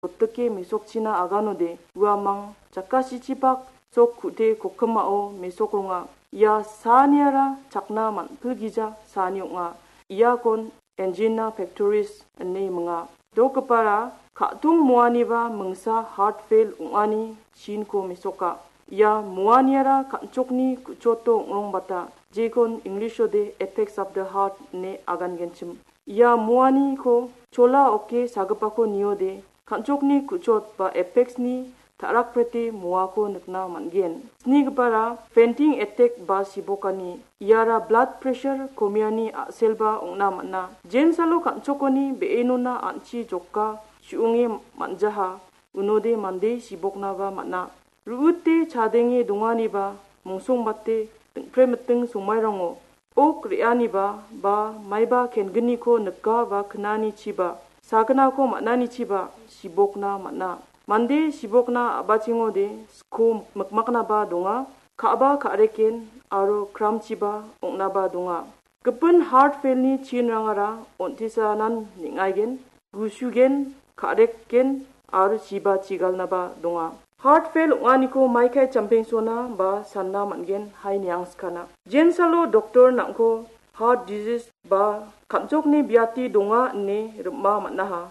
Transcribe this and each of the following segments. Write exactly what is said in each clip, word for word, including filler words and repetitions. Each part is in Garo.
Gotike mesokchina aganode uamang jakasichibak sok ku·te kokkimao mesokronga. Ia saaniara chakna man·pilgija saani ong·a. Iakon angina pectoris ine minga. Dokgipara ka·tong muaniba mingsa heart fail ong·ani chinko mesoka. Ia muaniara kan·chokni ku·choto ong·rongbata, jekon English-ode effects of the heart ine agangenchim. Ia muaniko chola oke sagipako niode, kan·chokni ku·chot ba effects-ni ta·rakprete muako nikna man·gen. Snigipara fainting attack ba sibokani. Iara blood pressure komiani a·selba ong·na man·a. Jensalo kan·chokoni be·enona an·chi joka su·onge man·jaha, unode mande siboknaba man·a. Ru·ute chadenge donganiba mongsongbate dingpremiting somairango ok re·aniba ba maiba kengniko nika ba knanichiba, sagnako man·anichiba sibokna man·a. Mande sibokna a·bachengode sko mikmaknaba donga, ka·ba ka·reken aro kramchiba ong·naba donga. Gipin heart fail-ni chinrangara on·tisanan neng·aigen, gusugen, ka·reken aro chiba chigalnaba donga. Heart fail ong·aniko maikai champengsona ba sanna man·gen hai niangskana. Jensalo doktor nang·ko heart disease ba kan·chokni biati donga ine rim·a man·aha.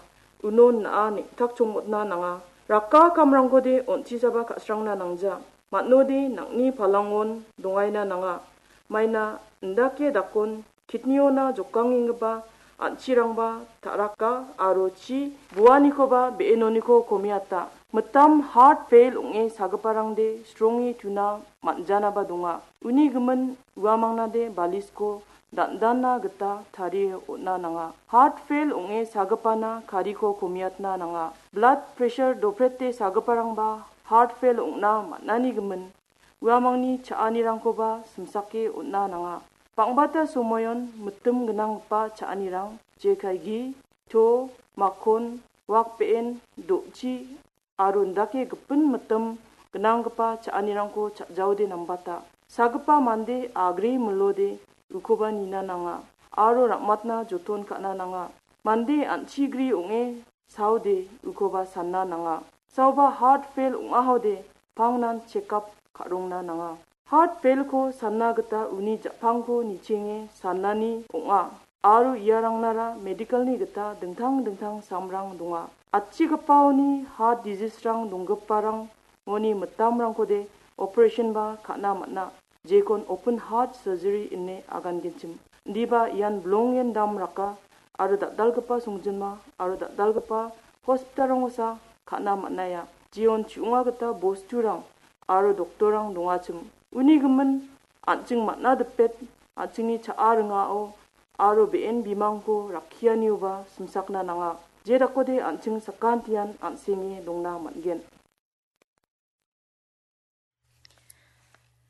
Uno na·a neng·takchongmotna nanga. Raka kamrangkode on·tisaba ka·srangna nangja. Man·ode nang·ni palangon dongaina nanga. Maina indake dakon kidney-ona jokangenggipa an·chirangba ta·raka aro chi buanikoba be·enoniko komiata. Mitam heart fail ong·e sagiparangde stronge tuna man·janaba donga. Uni gimin uamangnade balisko dan·dana gita tarie on·na nanga. Heart fail ong·e sagipana kariko komiatna nanga. Blood pressure doprete sagiparangba heart fail ong·na man·ani gimin uamangni cha·anirangkoba simsake on·na nanga. Bang·bata somoion mitim gnanggipa cha·anirang, jekai gi, to, makkon, wak be·en, do·chi, aro indake gipin mitim gnanggipa cha·anirangko cha·jaode nambata. Sagipa mande agre milode ukoba nina nanga, aro ra·matna joton ka·na nanga. Mande an·chigri ong·e saode ukoba sanna nanga. Saoba heart fail ong·ahode pangnan check up ka·rongna nanga. Heart fail-ko sanna gita uni ja·pangko nichenge sanani ong·a. Aro iarangnara medical-ni gita dingtang dingtang samrang donga. Atchigipaoni heart disease-rang donggiparangoni mitamrangkode operation-ba ka·na man·a. Jekon open heart surgery ine agangenchim. Indiba ian bilongen dam raka aro dal·dalgipa songjinma aro dal·dalgipa hospital-rangosa ka·na man·aia. Jeon chi·onga gita bosturang aro doktorrang dongachim. Uni gimin an·ching man·a dipet, an·chingni cha·a ringao aro be·en bimangko rakkianioba simsakna nanga. Jedakode an·ching sakantian an·senge dongna man·gen.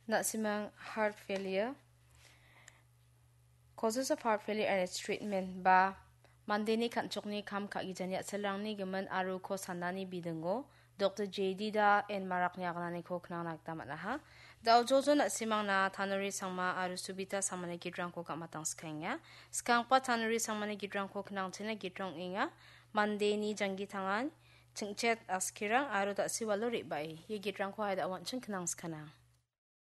Na·simang heart failure. Causes of heart failure and its treatment ba mandeni kan·chokni kam ka·gijani a·selrangni gimin aro ko sanani bidingo Doktor J D Da en marakni agananiko knangna gita man·aha. Da·o jojo na·simangna Tanuri Sangma aro Subita Sangmani gitrangko gamatang skaenga. Skangpa Tanuri Sangmani gitrangko knangchina gitrang ong·enga. Mandeni janggi tangan, chingchet askirang aro da·siwalo re·bae. Ia gitrangko hai da·o an·ching knang skanang.